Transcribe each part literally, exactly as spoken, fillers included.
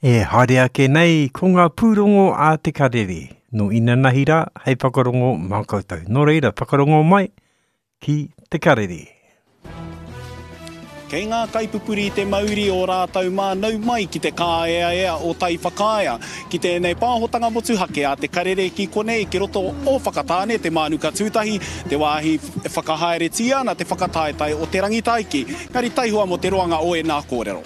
E haere ake nei ko ngā pūrongo a Te Karere nō inanahi rā hei whakarongo mā koutou. Nō reira, whakarongo mai ki Te Karere. Kei ngā kaipupuri te mauri o rātou mā nau mai ki te kāeaea o Taiwhakaea. Ki tēnei pāhotanga motuhake a Te Karere ki konei ki roto o Whakatāne, Te Mānuka Tūtahi, te wāhi e whakahaeretia ana te whakataetae o Te Rangitaiki. Engari taihoa mō te roanga o ēnā kōrero.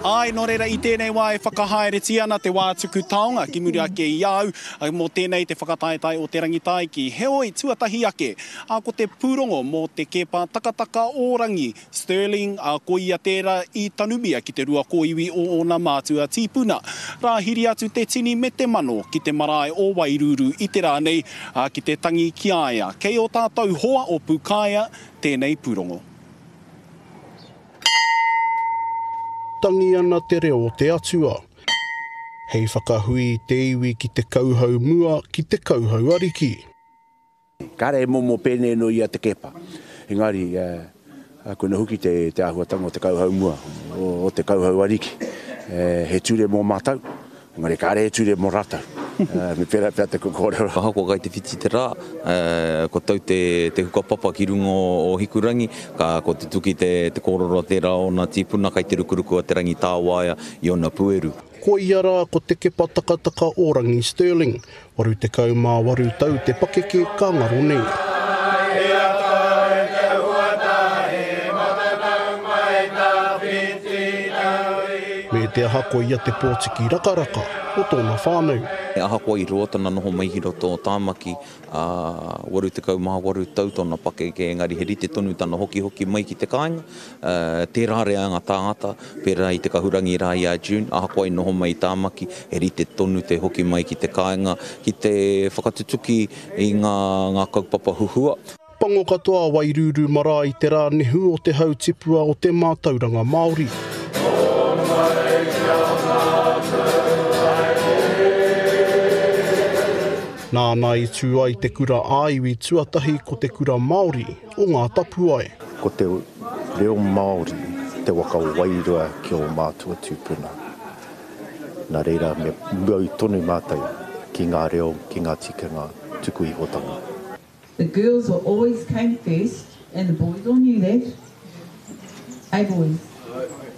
Āe, nō reira i tēnei wā e whakahaeretia ana te wā tuku taonga ki muri ake i a au, mō tēnei te whakataetae o Te Rangitaiki. Heoi, tuatahi ake, ā, ko te pūrongo mō te kēpā takataka o Rangi, Stirling, ā, ko ia tērā i tanumia ki te rua kōiwi o ōna mātua tīpuna. Rāhiri atu te tini me te mano ki te marae o Wairūrū i te rā nei, ā, ki te tangi ki a ia. Kei ō tātou hoa o Pūkaea tēnei pūrongo. Tangi ana te reo o te atua. Hei whakahui i te iwi ki te kauhau mua, ki te kauhau ariki. Kāre e momo pēnei no ia te kepa. Engari, eh, koina hoki te, te āhuatanga o te kauhau mua, o, o te kauhau ariki. Eh, he ture mō mātou, engari kāre he ture mō rātou. Eh, me pērā pea te kōrero. Ahakoa kai te whiti te rā, eh, ko tau te, te hukapapa ki runga o, o Hikurangi, ka ko te tuki te, te kōrero tērā ōna tīpuna kai te rukuruku a Te Rangitāwaia i ōna pueru. Ko ia rā ko te kepa takataka o Rangi Stirling, waru tekau mā waru tau te pakeke ka ngaro nei. Me te aha ko ia te pōtiki rakaraka o tōna whānau. Ahakoa i roa tana noho mai ki roto o Tāmaki, ā, waru tekau mā waru tau tōna pakeke, engari he rite tonu tana hokihoki mai ki te kāinga. Uh, tērā reanga tāngata, pērā i te kahurangi rā i a June, ahakoa i noho mai i Tāmaki, he rite tonu te hoki mai ki te kāinga, ki te whakatutuki i ngā, ngā kaupapa huhua. Pango katoa a Wairūrū marae i te rā nehu o te hau tipua o te mātauranga Māori. Nāna i tū ai te kura ā-iwi tuatahi ko te kura Māori o Ngā Tapuae. Ko te reo Māori te waka wairua ki ō mātua tūpuna. Nā reira me mau tonu mātou ki ngā reo, ki ngā tikanga tuku ihotanga. The girls were always came first and the boys all knew that. Hey boys,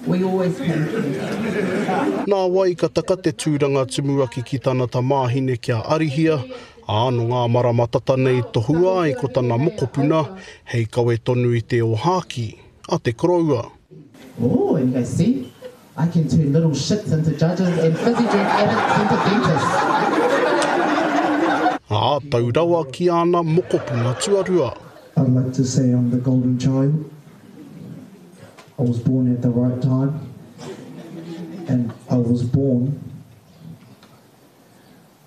we always came first. Nā wai ka taka te tūranga tumuaki ki tana tamāhine kia Arihia, ā, nō ngā marama tata nei tohua ai ko tana mokopuna hei kawe tonu i te ōhākī a te koroua. Oh, and you go, see, I can turn little shits into judges and fizzy drink addicts into dentists. Ā, tau rawa ki āna mokopuna tuarua. I'd like to say I'm the golden child. I was born at the right time and I was born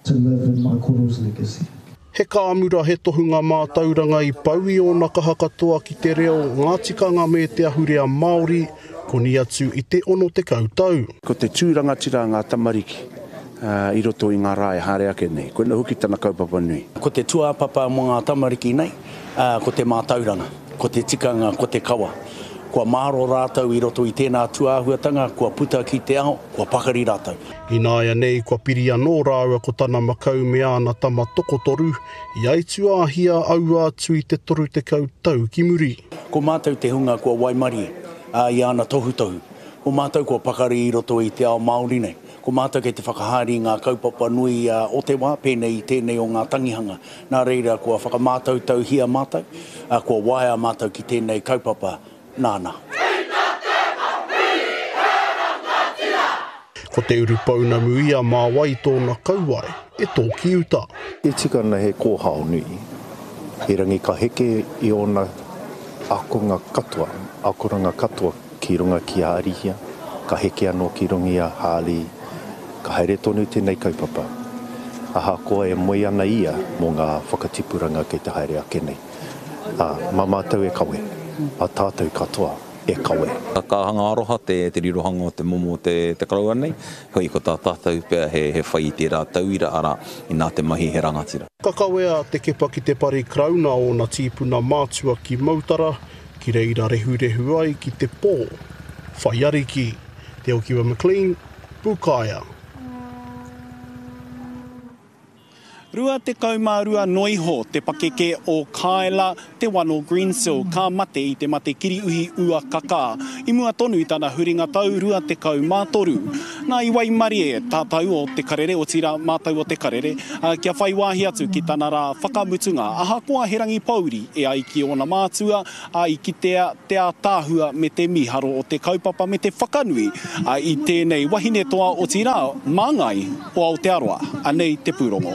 to live in my koro's legacy. He kāmura, he tohunga mātauranga i pau i ōna kaha katoa ki te reo, ngā tikanga me te ahurea Māori, koni atu i te ono tekau tau. Ko te tū rangatira a ngā tamariki i roto i ngā rā e haere ake nei. Koina hoki tana kaupapa nui. Ko te tūāpapa mō ngā tamariki nei, ko te mātauranga, ko te tikanga, ko te kawa. Kua māro rātou i roto i tēnā tūāhuatanga, kua puta ki te ao, kua pakari rātou. Ināianei kua piri anō rāua ko tana makau me āna tama tokotoru, i aituāhia aua atu i te toru tekau tau ki muri. Ko mātou te hunga kua waimarie i āna tohutohu. Ko mātou kua pakari i roto i te ao Māori nei. Ko mātou kei te whakahaere i ngā kaupapa nui o te wā, pēnei i tēnei o ngā tangihanga. Nā reira kua whakamātautauhia mātou, kua waea mātou ki tēnei kaupapa nāna. Ko te urupounamu ia mā wai tōna kauae e tōki uta. E tika ana he kōhao nui, erangi ka heke i ōna akonga katoa, akoranga katoa ki runga ki a Arihia, ka heke anō ki runga i a Harley, ka haere tonu tēnei kaupapa. Ahakoa e moe ana ia mō ngā whakatipuranga kei te haere ake nei. Ā, mā mātou e kawe, mā tātou katoa. e kawe. Ka hanga aroha te, te rirohanga o te momo o te, te koroua nei, hoi ko tā tātou pea he, he whai i tērā tauira, arā, inā te mahi he rangatira. Ka kawea te Kepa ki te pari Karauna ōna tīpuna mātua ki Mautara, ki reira rehurehu ai ki te pō. Whai ariki, Te Okiwa McLean, Pūkaea. Rua tekau mā rua noa iho te pakeke o Kyla Te Wano Greensill ka mate i te mate kiriuhi ua kakā i mua tonu i tana huringa tau rua tekau mā toru. Nā i waimarie tātou o Te Karere, otirā mātou o Te Karere, kia whai wāhi atu ki tana rā whakamutunga. Ahakoa he rangi pōuri e ai ki ōna mātua, ā, i kitea te ātaahua me te mīharo o te kaupapa me te whakanui i tēnei wahine toa otirā māngai o Aotearoa. Anei te pūrongo.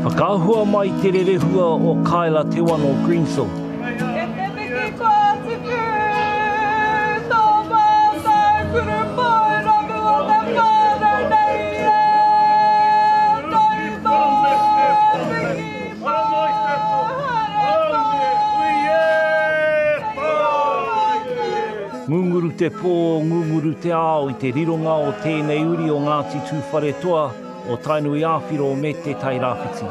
Whakaahua mai te rerehua o Kyla Te Wano Greensill. E te miki kua tuku, tō mātou kurupounamu o te whānau nei e, tau tō piki Ngunguru te pō, ngunguru te ao i te rironga o tēnei uri o Ngāti Tūwharetoa, o Tainui Āwhiro me Te Tairāwhiti.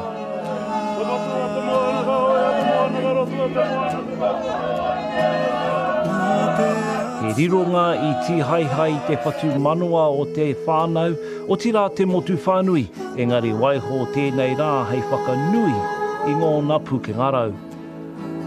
He rironga i tīhaehae i te whatumanawa o te whānau, otirā te motu whānui, engari waiho tēnei rā hei whakanui i ngōna pūkenga rau.